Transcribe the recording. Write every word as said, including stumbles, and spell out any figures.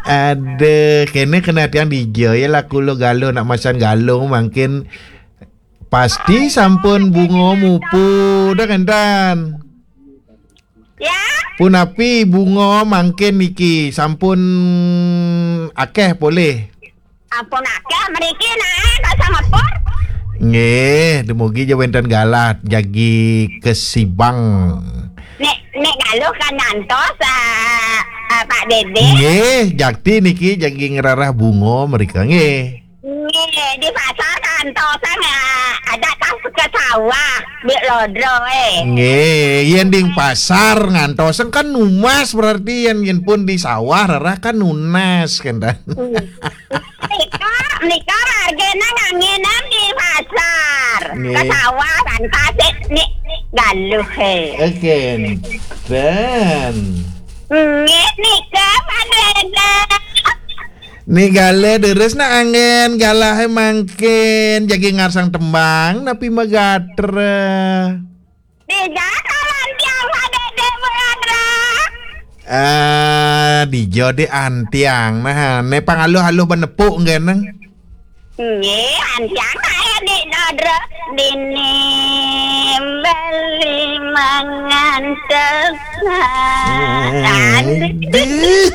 Aduh, kene kena tiang dija ya laku lo galuh nak masan galuh mangkin pasti sampun bunga mupu dah kentan. Ya, Punapi bunga mangkin niki sampun akeh polih. Ampun akeh mriki nae kok sangepur. Nggih, dumugi ja wenten galah jagi kesibang. Nek nek galuh kan ngantos uh, uh, Pak Dede. Nggih, jakti niki jagi ngerarah bunga mereka nggih. Nggih, di pasar kantos uh, ada tas ke sawah di Lodro eh. Nggih, yen ding pasar ngantos kan nunas berarti yen yen pun di sawah rarah kan nunas kan dah. Nika, nika margena ngangenan di pasar. Nggih. Ke sawah kan kasih nek galuh he. Oke. Dan Nggih nika Pak Dede. ni galah deres nak angin galah mangkin jagi ngarsang tembang napi magatra. Dija kalan tiang Pak Dede Berandra. Ah, dija di antiang nah ne pangaluh-aluh benepuk ngeneng. Nggih, antiang saya di Lodro dini beli mangan tekan. Dih.